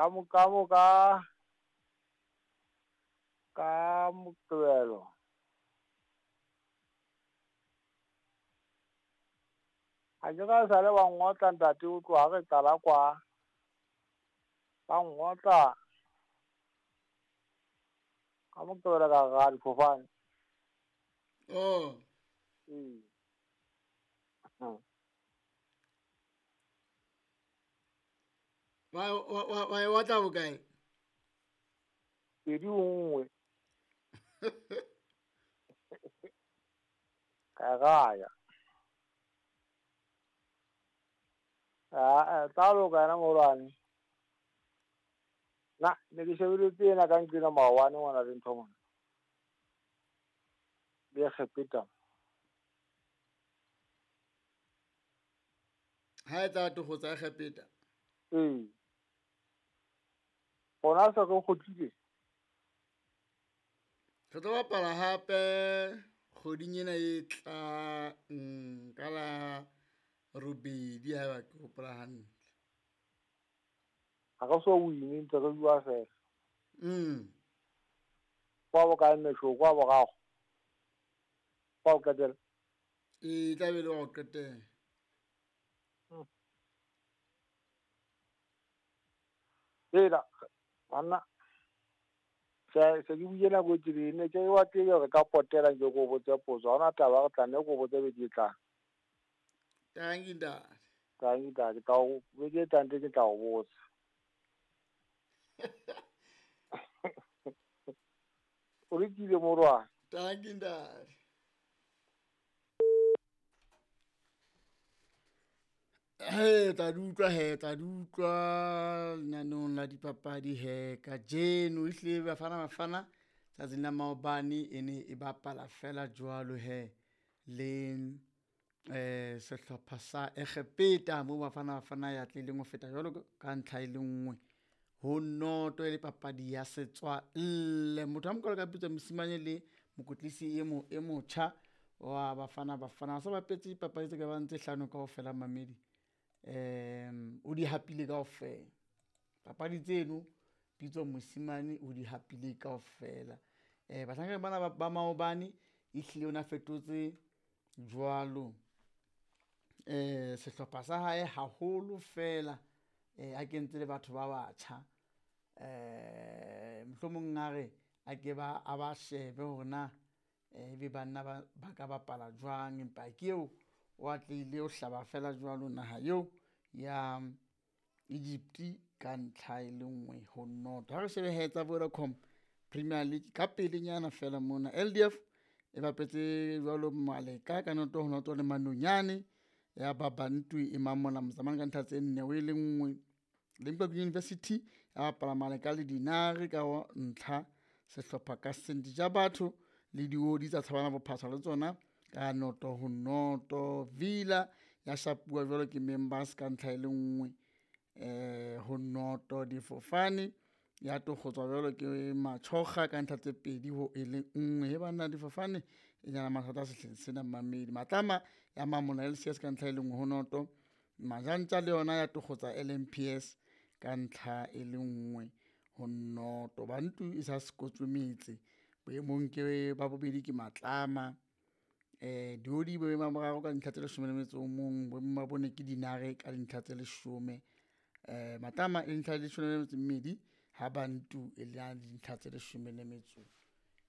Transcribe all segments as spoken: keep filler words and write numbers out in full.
Ka mo ka mo ka ka Moqebelo. Ha ke ra sale wa ngotla ntate o tloha re qala kwa. Ba ngotla. Ka Moqebelo ka ra difofane. Oh. Ee. Wa wa wa wa e otla bokae? Pedi nngwe. Ka raya. Ah, tla loka yena moholwane. Na ne ke shebeletse ena ka nqena maobane ngwana le ntho mona. Le Egepeta. Ha e tla tokgotsa Egepeta. Ee. Gona se re kgutlile. Re tlo bapala hape kgweding ena e tlang ka la robedi haeba ke hopola hantle. Ha re so win-e ntse re bua fela. Mm. Kwa bokae mesho kwa boraro. Kwa ho qetela. E tla be le wa ho qetela. Mm. Ela banna se se ke buile nako e telele ne ke wa tele re ka potela nke ko botse potso. Ha hona taba re tla nne ko botse beke e tlang. Tanki ntate. Tanki ntate, ka o beke e tlang teng ke tla o botsa. O rekile morwa. Tanki ntate. He tla di utlwa he tla di utlwa lenaneong la dipapadi he kajeno ehlile Bafana Bafana tsatsing la maobane e ne e bapala fela jwalo he le eh sehlopha sa Egepeta mo Bafana Bafana ya tlileng ho feta jwalo ka ntlha e le nngwe ho noto e le papadi ya setswalle. Motho a mokalo ka Pitso Mosimane le mokotlisi e mo e motjha wa Bafana Bafana sa bapetse dipapadi tse ka bang tse hlano kaofela mamedi. Um o di hapile kaofela papadi tseno Pitso Mosimane o di hapile kaofela. Eh bahlankana bana ba maobane ehlile o na fetotse jwalo eh sehlopha sa hae haholo fela eh a kentse le batho ba batjha eh mohlomong a re a ke ba a ba shebe hore na ebe banna ba ba ka bapala jwang, empa ke eo o atlehile o hlaba fela jwalo naha eo ya Egypt ka ntlha e le nngwe ho noto. Ha re shebe he tsa Vodacom Premier League ka pelenyana fela mona L D F e bapetse jwalo Maleka ka noto ho noto le Manonyane ya Babantu e mamola Mozamane ka ntlha tse nne ho e le nngwe. Limpopo University ya bapala Maleka le Dinare ka ntlha sehlopha ka seng Dijabatho le Diodi tsa Tshabana Bophasa le tsona ka noto ho noto. Villa ya shapuwa jwalo ke Members ka ntlha e le nngwe eh ho noto. Difofane ya tokgotswa jwalo ke Machoga ka ntlha tse pedi ho e le nngwe. He banna difofane e nyana mathata sehleng sena mamedi. Matlama ya mamola L C S ka ntlha e le nngwe ho noto. Majantja le yona ya tokgotsa L M P S ka ntlha e le nngwe ho noto. Bantu e sa sekotswe metse boemong ke ba bobedi ke Matlama. Eh Diodi boemong ba boraro ka dintlha tse leshome le metso o mong, boemong ba bone ke Dinare ka dintlha tse leshome. Eh Matlama e dintlha tse leshome le metso e mmedi, ha Bantu e le dintlha tse leshome le metso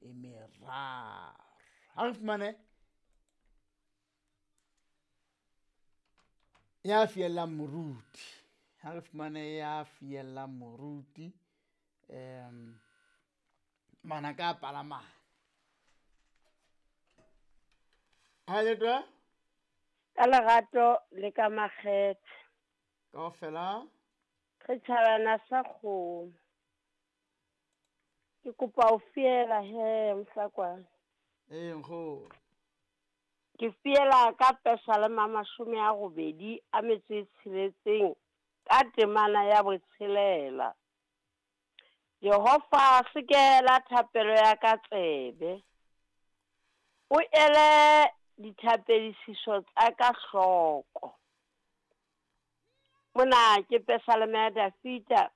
e meraro. Ha re fumane ya fiellang moruti, ha re fumane ya fiellang moruti em manaka a palamang. Ha le twa? Ka lerato le ka makgethe. Kaofela? Re tjhabana sa kgomo. Ke kopa ho fiela he Mohlakwana. Ee, nkgono. Ke fiela ka Pesalema mashome a robedi a metso e tsheletseng ka temana ya botshelela. Jehova sekela thapelo ya ka tsebe. O ele dithapedisiso tsa ka hloko. Mona ke Pesalema ya Dafita